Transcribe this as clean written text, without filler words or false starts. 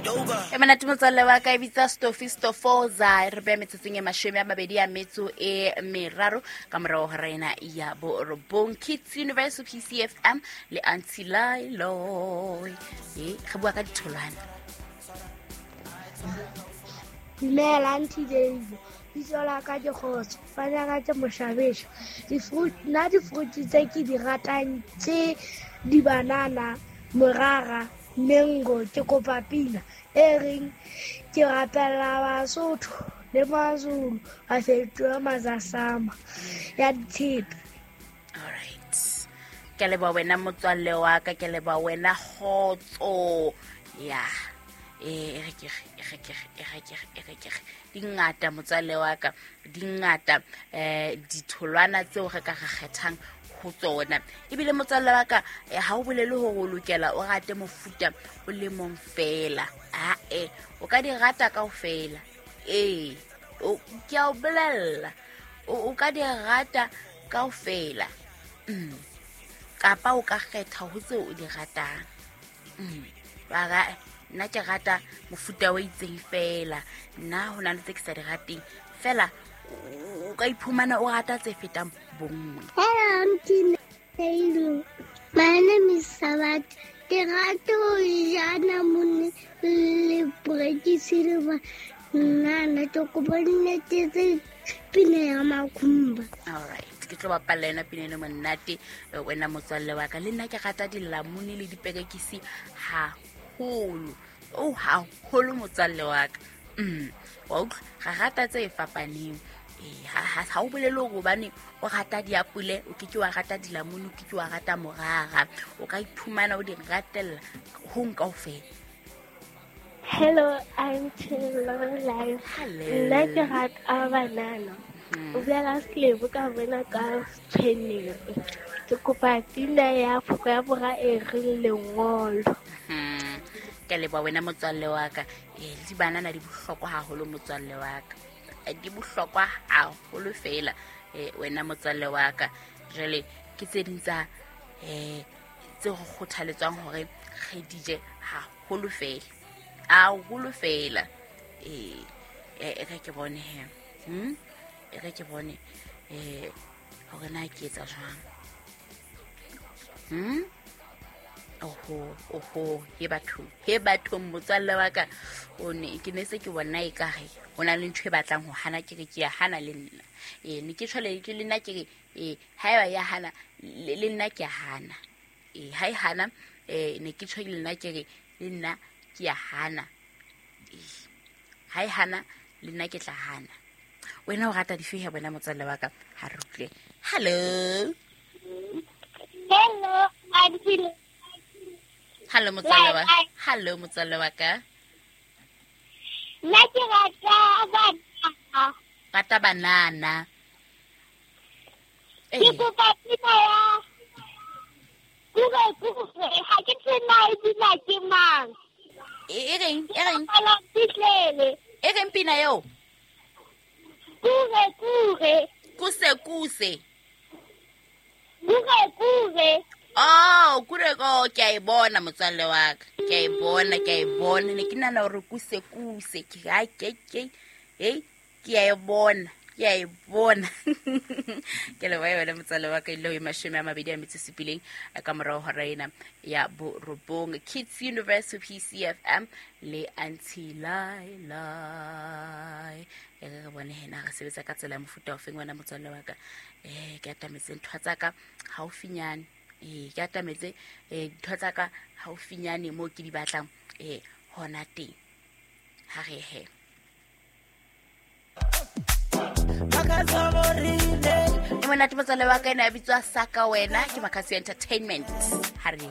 E monate motswalle wa ka, e bitsa Stofi Stofoza. Re beya metsotsong e 23 ka morago ga rena ya 9. Kids Universal PCFM le Auntie Lilo. E re bua ka ditholwana. Dumela Auntie Dave, bitso la ka ke Kgotso, fana ka ke Moshabesha. Di-fruit, nna di-fruit tse ke di ratang ke di-banana, morara, mango. Ke kopa pina e reng ke rapella Basotho le Mazulu ba fetohe mazasama ya ditshepe. Alright, ke a leboha wena motswalle wa ka, ke a leboha wena Kgotso. Ya, e re ke re, e re ke re, e re ke re, e re ke re. Di ngata motswalle wa ka, di ngata ditholwana tseo re ka re kgethang ho tsona. Ebile motswalle wa ka, ha o bolele hore o lokela o rate mofuta o le mong fela. Ae, o ka di rata kaofela. Ee, ke a o bolella, o ka di rata kaofela. Kapa o ka kgetha ho tseo o di ratang. Ba nna ke rata mofuta o itseng fela, nna ho na le tse ke sa di rateng fela. O ka iphumana o rata tse fetang bonngwe. Hello, Auntie Lelo. My name is Sabat. Ke rata ho ja namone le perekisi le banana. Ke kopa nnete tse pina ya Makhumba. All right, ke tlo bapalla yona pina eno monate, wena motswalle wa ka. Le nna ke rata dilamune le diperekisi haholo. O haholo motswalle wa ka. Wa utlwa, ra rata tse fapaneng. Ha o bolele hore hobane o rata diapole, o ke ke wa rata dilamune, o ke ke wa rata morara. O ka iphumana o di ratella hong kaofela. Hello, I'm Lorelai. Hello. Nna ke rata banana. O bua ka selebo ka bona ka tshweneng. Ke kopa pina ya Afrika ya Borwa e reng lengolo. Ke a leboha wena motswalle wa ka. Le dibanana di bohlokwa haholo motswalle wa ka. Di bohlokwa haholo fela, wena motswalle wa ka. Jwale ke tse ding tsa, tse re kgothaletswang hore re di je haholo fela. Haholo fela. E re ke bone he. E re ke bone, hore na ke etsa jwang. Oho, oho, he batho, he batho motswalle wa ka. O ne, ke ne se ke bona ekare ho na le ntho e batlang ho hana, ke re ke ya hana le nna. Ne ke tjho le nna ke re, haeba ya hana, le nna ke ya hana. Ha e hana, ne ke tjho le nna ke re, le nna ke ya hana. Ha e hana, le nna ke tla hana. Wena o rata dife he wena motswalle wa ka? Ha re utlwe. Hello. Hello, Auntie. Hello, motswalle wa. Hello, motswalle wa ka. Nna ke rata banana. Rata banana. Ke kopa pina ya Kure Kure. Ha ke tsebe na e bina ke mang. E reng? E reng? Ke fihlele. E reng pina eo? Kure Kure. Kuse kuse. Kure Kure. Oh, kure ko, ke a e bona motswalle wa ka. Ke a e bona, ke a e bona. Ne ke nahana hore kuse kuse. Ke ha ke ke. Hey, ke a e bona, ke a e bona. Ke leboha wena motswalle wa ka, ile ho e 27 ka morao hora ena ya 9. Kids Universe PCFM le Auntie Laila. E re re bone hena re sebetsa ka tsela ya mofuta o feng wena motswalle wa ka. Ke atametse ntho tsa ka haufinyane. Ke atametse, ntho tsa ka haufinyane moo ke di batlang, hona teng. Ha re he. E monate motswalle wa ka, ena a bitswa Saka wena, ke Makhasi Entertainment. Ha re